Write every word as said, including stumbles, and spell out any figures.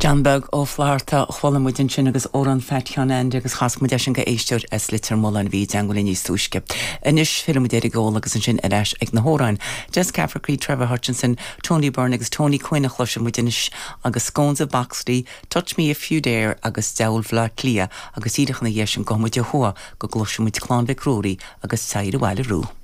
John Beag Ó Flatharta chuala muid ansin agus amhrán Phat Sheáin Aindí agus chas muid eisean go éisteoir as Leitir Mealláin bhí i dteagmháil linn níos túisce. Anois fillfidh muid ar an gceol agus ansin ar ais ag na hamhráin. Des Cafferky, Trevor Hutchinson, Tony Byrne agus Tony Quinn a chloisfidh muid anois agus Scones of Boxley, Touch Me If You Dare agus Deabhal Bhaile Átha Cliath agus díreach ina dhiaidh sin gabhfaidh muid ó thuaidh go gcloisfidh muid Clann Mhic Ruairí agus Teacht Abhaile Arú.